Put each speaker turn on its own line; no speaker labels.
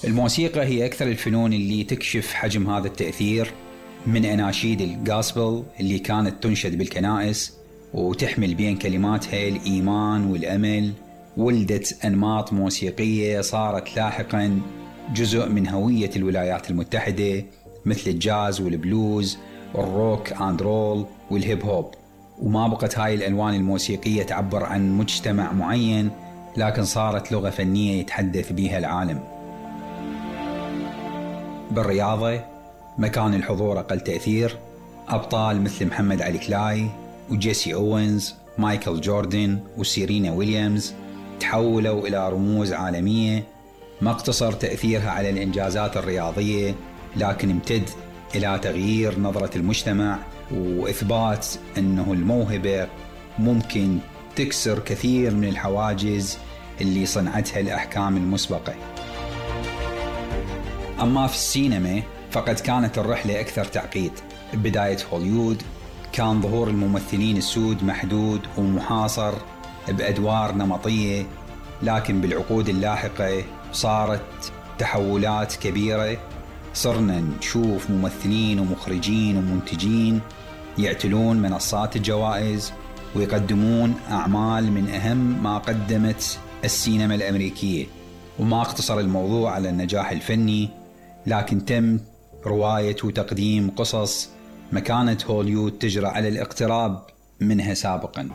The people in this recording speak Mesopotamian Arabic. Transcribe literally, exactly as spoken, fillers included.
الموسيقى هي أكثر الفنون اللي تكشف حجم هذا التأثير، من أناشيد الغاسبل اللي كانت تنشد بالكنائس وتحمل بين كلماتها الإيمان والأمل، ولدت أنماط موسيقية صارت لاحقا جزء من هوية الولايات المتحدة، مثل الجاز والبلوز والروك اند رول والهيب هوب. وما بقت هاي الألوان الموسيقية تعبر عن مجتمع معين، لكن صارت لغة فنية يتحدث بها العالم. بالرياضة مكان الحضور أقل تأثير، أبطال مثل محمد علي كلاي وجيسي أوينز، مايكل جوردن وسيرينا ويليامز تحولوا إلى رموز عالمية. ما اقتصر تأثيرها على الإنجازات الرياضية، لكن امتد إلى تغيير نظرة المجتمع وإثبات أنه الموهبة ممكن تكسر كثير من الحواجز اللي صنعتها الأحكام المسبقة. أما في السينما فقد كانت الرحلة أكثر تعقيد. بداية هوليوود كان ظهور الممثلين السود محدود ومحاصر بأدوار نمطية، لكن بالعقود اللاحقة صارت تحولات كبيرة. صرنا نشوف ممثلين ومخرجين ومنتجين يعتلون منصات الجوائز ويقدمون أعمال من أهم ما قدمت السينما الأمريكية. وما اقتصر الموضوع على النجاح الفني، لكن تم رواية وتقديم قصص ما كانت هوليوود تجرأ على الاقتراب منها سابقا.